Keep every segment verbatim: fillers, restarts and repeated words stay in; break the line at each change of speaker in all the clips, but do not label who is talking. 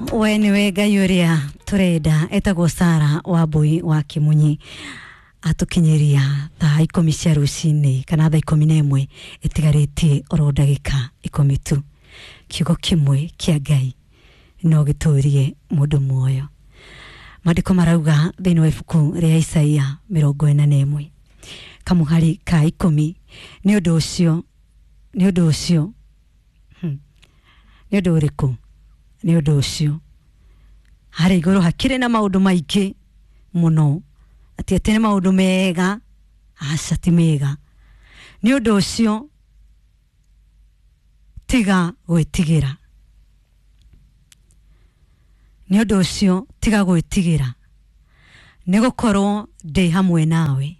We niwe Ngai ũrĩa tũrenda. Etagwo Sara wa Mbui wa Kimunyi, atũkinyĩria thaa ikũmi cia rũcinĩ kana thaa ikũmi na ĩmwe ĩtigarĩtie oro ndagĩka ikũmi tu. Kiugo kĩmwe kĩa Ngai no gĩtũrie mũndũ muoyo. Maandĩko marauga thĩinĩ wa ibuku rĩa Isaia mĩrongo ĩna na ĩmwe kamũhari ka ikũmi, nĩ ũndũ ũcio, nĩ ũndũ ũcio, hmm, nĩ ũndũ ũrĩkũ? Nĩ ũndũ ũcio harĩa igũrũ hakĩrĩ na maũndũ maingĩ mũno, atĩ atĩ nĩ maũndũ mega, aca ti mega. Nĩ ũndũ ũcio tiga gwĩtigĩra, nĩ ũndũ ũcio tiga gwĩtigĩra, nĩ gũkorwo ndĩ hamwe nawe.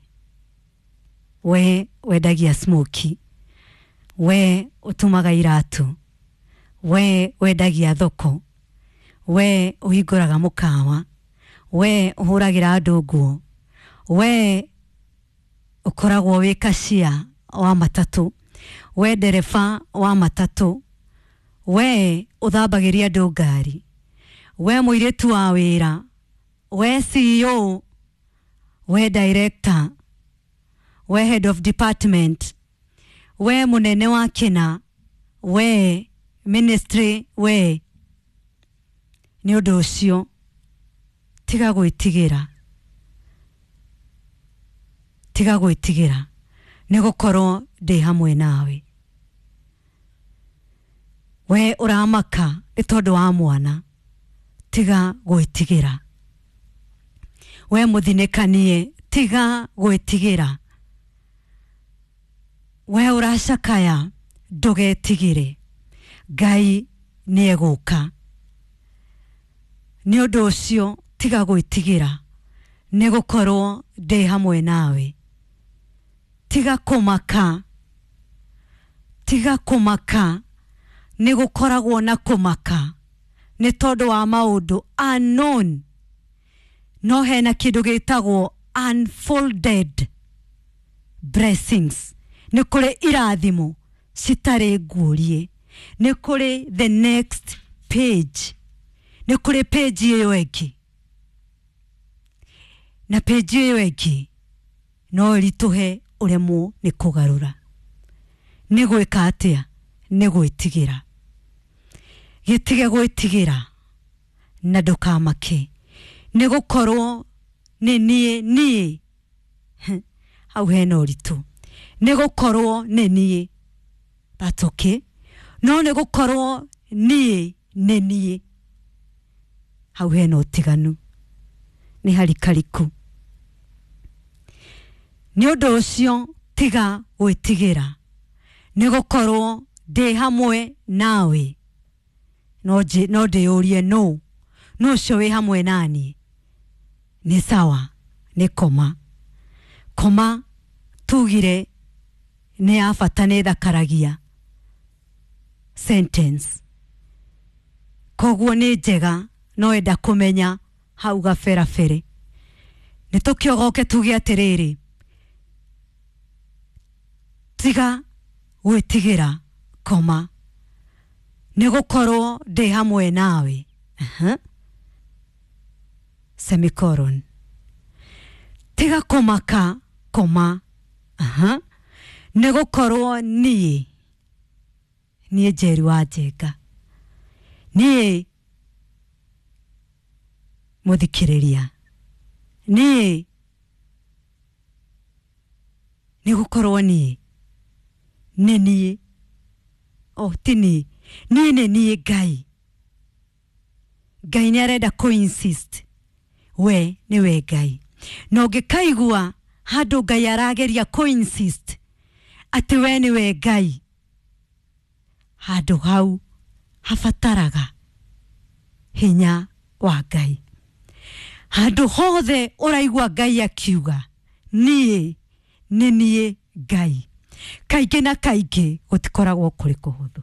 We wendagia smoky, we ũtumaga iratũ, we wendagia thoko, we ũhingũraga mũkawa, we ũhũragĩra andũ nguo, we ũkoragwo wĩ kacia wa matatũ, we ndereba wa matatũ, we ũthambagĩria andũ ngari, we mũirĩtu wa wĩra, we C E O, we director, we head of department, we mũnene wa kĩna, we ministry, we, nĩ ũndũ ũcio tiga gwĩtigĩra, tiga gwĩtigĩra, nĩ gũkorwo ndĩ hamwe nawe. We ũramaka nĩ tondũ wa mwana, tiga gwĩtigĩra. We mũthinĩkanie, tiga gwĩtigĩra. We ũracakaya, ndũgetigĩre, Ngai nĩ egũka. Nĩ ũndũ ũcio tiga gwĩtigĩra, nĩ gũkorwo ndĩ hamwe nawe. Tiga kũmaka, tiga kũmaka. Nĩ gũkoragwo na kũmaka nĩ tondũ wa maũndũ unknown, no hena kĩndũ gĩtagwo unfolded blessings. Nĩ kũrĩ irathimo citarĩ nguũrie, nĩ kũrĩ the next page, nĩ kũrĩ page ĩyo ĩngĩ, na page ĩyo ĩngĩ no ĩritũhe ũremwo nĩ kũgarũra. Nĩ gwĩka atĩa? Nĩ gwĩtigĩra. Gĩtige gwĩtigĩra na ndũkamake, nĩ gũkorwo nĩ niĩ. Niĩ hau hena ũritũ. Nĩ gũkorwo nĩ niĩ, that's okay, no nĩ gũkorwo niĩ nĩ niĩ, hau hena ũtiganu, nĩ harikariku. Nĩ ũndũ ũcio tiga gwĩtigĩra, nĩ gũkorwo ndĩ hamwe nawe. No nji- no ndĩyũrie, no no ũcio wĩ hamwe naniĩ? Nĩ sawa, nĩ koma koma tugire nĩ ya bata, nĩ thakaragia sentence, koguo nĩ njega. No enda kũmenya hau gaberabere nĩ tũkĩogoke tuge atĩrĩrĩ, tiga gwĩtigĩra koma, nĩ gũkorwo ndĩ hamwe nawe. Aha. Semicolon. Tiga kũmaka koma. Aha. Nĩ gũkorwo niĩ niĩ Njeri wa Njenga, niĩ mũthikĩrĩria, niĩ nĩ gũkorwo niĩ nĩ niĩ, o ti niĩ, niĩ nĩ niĩ Ngai. Ngai nĩ arenda kũ insist we nĩwe Ngai, na ũngĩkaigua handũ Ngai arageria kũ insist atĩ we nĩwe Ngai, handũ hau habataraga hinya wa Ngai. Handũ hothe ũraigua Ngai akiuga niĩ nĩ niĩ Ngai, kaingĩ na kaingĩ gũtikoragwo kũrĩ kũhũthũ,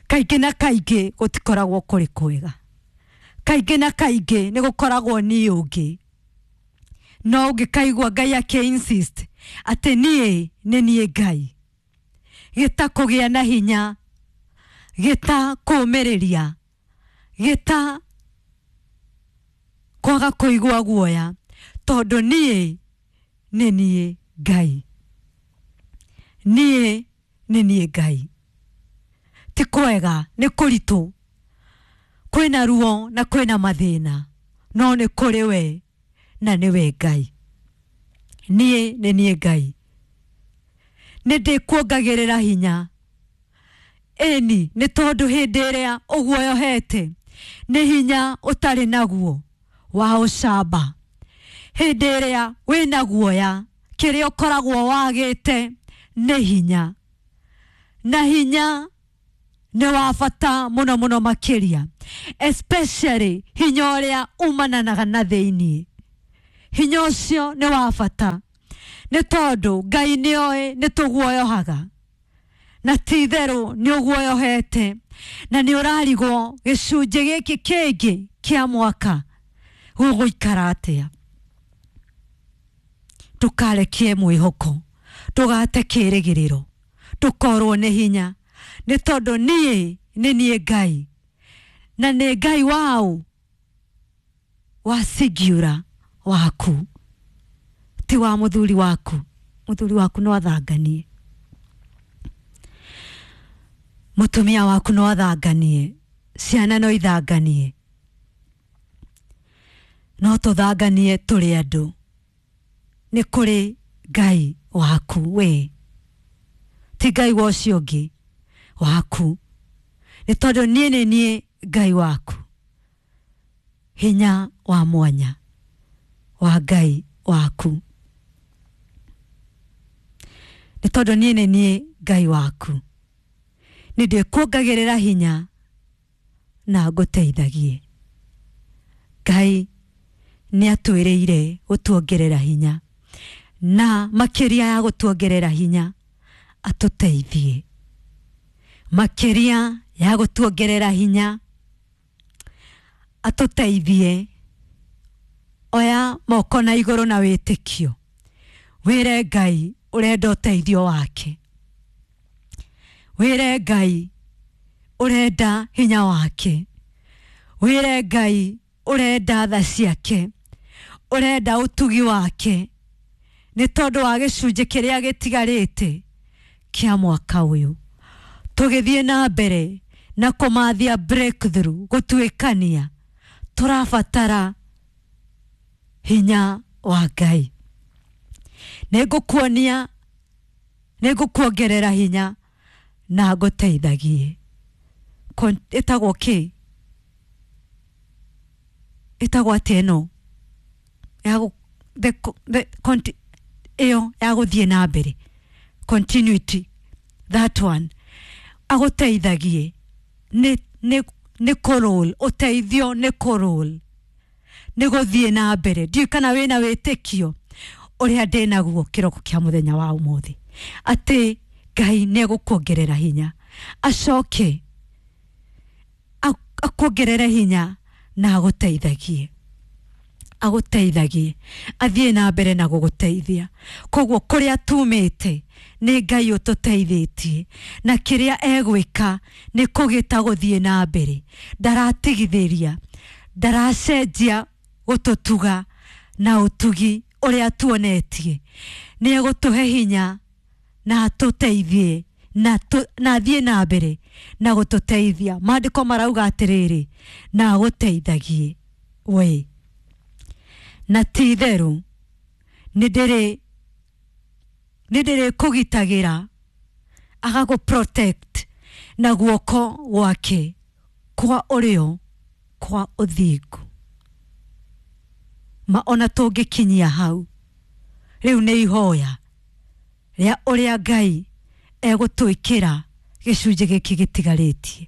kaingĩ na kaingĩ gũtikoragwo kũrĩ kwega, kaingĩ na kaingĩ nĩ gũkoragwo niĩ ũngĩ. No ũngĩkaigua Ngai akĩ insist atĩ niĩ nĩ niĩ Ngai, gĩta kũgĩa na hinya, gĩta kũũmĩrĩria, Gĩta kwaga kũigua guoya tondũ niĩ nĩ niĩ Ngai. Niĩ nĩ niĩ Ngai. Ti kwega, nĩ kũritũ, kwĩna ruo na kwĩna mathĩna, no nĩ kũrĩ we na nĩwe Ngai. Niĩ nĩ niĩ Ngai. Nĩ ndĩkuongagĩrĩra hinya. Ĩni nĩ tondũ hĩndĩ ĩrĩa ũguoyohete nĩ hinya ũtarĩ naguo wa ũcamba. Hĩndĩ ĩrĩa wĩna guoya kĩrĩa ũkoragwo wagĩte nĩ hinya, na hinya nĩ wa bata mũno mũno makĩria, especially hinya ũrĩa umananaga na thĩiniĩ. Hinya ũcio nĩ wa bata nĩ tondũ Ngai nĩoĩ nĩ tũguoyohaga, na ti itherũ nĩ ũguoyohete na nĩ ũrarigwo gĩcunjĩ gĩkĩ kĩngĩ kĩa mwaka gũgũikara atĩa. Ndũkarekie mwĩhoko, ndũgate kĩrĩgĩrĩro, ndũkorwo nĩ hinya, nĩ tondũ niĩ nĩ niĩ Ngai, na nĩ Ngai waũ wa singular waku, ti wa mũthuri waku. Mũthuri waku no athanganie, mũtumia waku no athanganie, ciana no ithanganie, no tũthanganie tũrĩ andũ. Nĩ kũrĩ Ngai waku we, ti Ngai wa ũcio ũngĩ waku, nĩ tondũ niĩ nĩ niĩ Ngai waku. Hinya wa mwanya wa Ngai waku, nĩ tondũ niĩ nĩ niĩ Ngai waku, nĩ ndĩkuongagĩrĩra hinya na ngũteithagie. Ngai nĩ atwĩrĩire gũtuongerera hinya, na makĩria ya gũtuongerera hinya atũteithie, makĩria ya gũtuongerera hinya atũteithie. Oya moko na igũrũ na wĩtĩkio, wĩre Ngai ũrenda ũteithio wake, wĩre Ngai ũrenda hinya wake, wĩre Ngai ũrenda tha ciake, ũrenda ũtugi wake, nĩ tondũ wa gĩcunjĩ kĩrĩa gĩtigarĩte kĩa mwaka ũyũ. Tũgĩthiĩ na mbere na kũmathia breakthrough, gũtuĩkania, tũrabatara hinya wa Ngai. Nĩ ngũkuonia, nĩ ngũkuongerera hinya na ngũteithagie. Ĩtagwo kĩ? Ĩtagwo atĩa ĩno ya the, the, conti, ĩyo ya gũthiĩ na mbere, continuity, that one. Agũteithagie nĩ nĩ nĩ kũroll, ũteithio nĩ kũroll, nĩ gũthiĩ na mbere. Ndiũĩ kana wĩna wĩtĩkio ũrĩa ndĩnaguo kĩroko kĩa mũthenya wa ũmũthĩ, atĩ Ngai nĩ egũkuongerera hinya, acoke akuongerere hinya na agũteithagie, agũteithagie, athiĩ na mbere na gũgũteithia. Koguo kũrĩa tumĩte nĩ Ngai ũtũteithĩtie, na kĩrĩa egwĩka nĩ kũgĩta gũthiĩ na mbere. Ndaratigithĩria, ndaracenjia gũtũtuga na ũtugi ũrĩa tuonetie. Nĩ egũtũhe hinya na atũteithie na na athiĩ na mbere na gũtũteithia. Maandĩko marauga atĩrĩrĩ, na agũteithagie we, na ti itherũ nĩ ndĩrĩ nĩ ndĩrĩkũgitagĩra, agagũ protect na guoko gwake kwa ũrĩo kwa ũthingu. Ma ona tũngĩkinyia hau rĩu nĩ ihoya rĩa ũrĩa Ngai egũtwĩkĩra gĩcunjĩ gĩkĩ gĩtigarĩtie,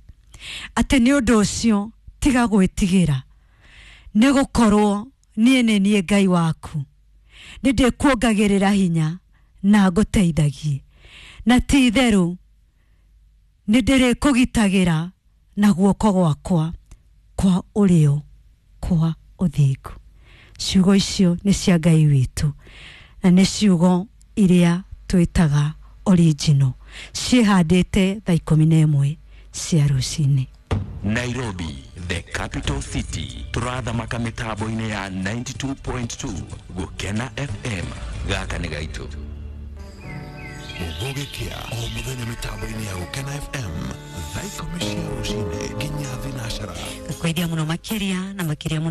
atĩ nĩ ũndũ ũcio tiga gwĩtigĩra, nĩ gũkorwo niĩ nĩ niĩ Ngai waku, nĩ ndĩkuongagĩrĩra hinya na ngũteithagie, na ti itherũ nĩ ndĩrĩkũgitagĩra na guoko gwakwa kwa ũrĩo kwa ũthingu. Ciugo icio nĩ cia Ngai witũ, na nĩ ciugo iria twĩtaga original, ciĩhandĩte thaa ikũmi na ĩmwe cia rũcinĩ.
Nairobi, The capital city. Tũrathamaka mĩtambo-inĩ ya ninety-two point two Gũkena F M. Gaka nĩ gaitũ.
Gũgĩkĩa o mũthenya mĩtambo-inĩ ya Gũkena F M thaa ikũmi cia rũcinĩ nginya thinacara.
Kwithia muno makiria na makiria muno.